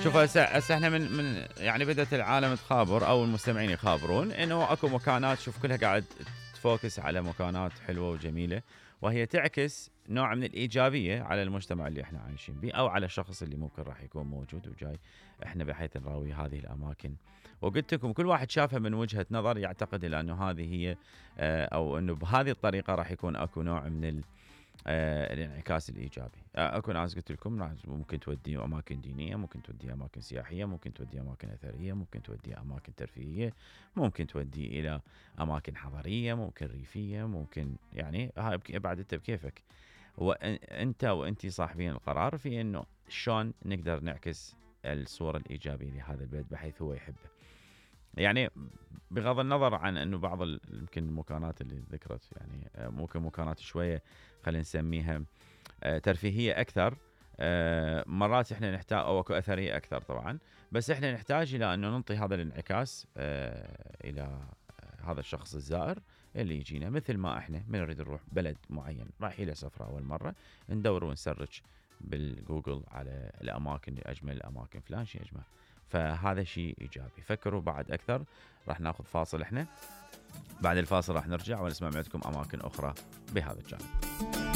شوف هسه احنا من يعني بدأت العالم تخابر او المستمعين يخابرون انه اكو مكانات، شوف كلها قاعد تفوكس على مكانات حلوه وجميله، وهي تعكس نوع من الايجابيه على المجتمع اللي احنا عايشين به او على الشخص اللي ممكن راح يكون موجود وجاي احنا بحيث نراوي هذه الاماكن. وقلت لكم كل واحد شافها من وجهه نظر يعتقد انه هذه هي او انه بهذه الطريقه راح يكون اكو نوع من الانعكاس الايجابي. اكو ناس قلت لكم ممكن تودي اماكن دينيه، ممكن تودي اماكن سياحيه، ممكن تودي اماكن اثريه، ممكن تودي اماكن ترفيهيه، ممكن تودي الى اماكن حضريه، ممكن ريفيه، ممكن يعني هاي بعد انت بكيفك، وانت وانتي صاحبين القرار في انه شلون نقدر نعكس الصوره الايجابيه لهذا البلد بحيث هو يحبه. يعني بغض النظر عن انه بعض يمكن المكانات اللي ذكرت يعني ممكن مكانات شويه خلينا نسميها ترفيهيه اكثر، مرات احنا نحتاج او اكو اثريه اكثر طبعا، بس احنا نحتاج الى انه ننطي هذا الانعكاس الى هذا الشخص الزائر اللي يجينا. مثل ما احنا من نريد نروح بلد معين رايحين له سفره اول مره، ندور ونسرج بالجوجل على الاماكن، اجمل الاماكن فلان شيء اجمل، فهذا شيء ايجابي. فكروا بعد اكثر. راح ناخذ فاصل احنا، بعد الفاصل راح نرجع ونسمع معكم اماكن اخرى بهذا الجانب.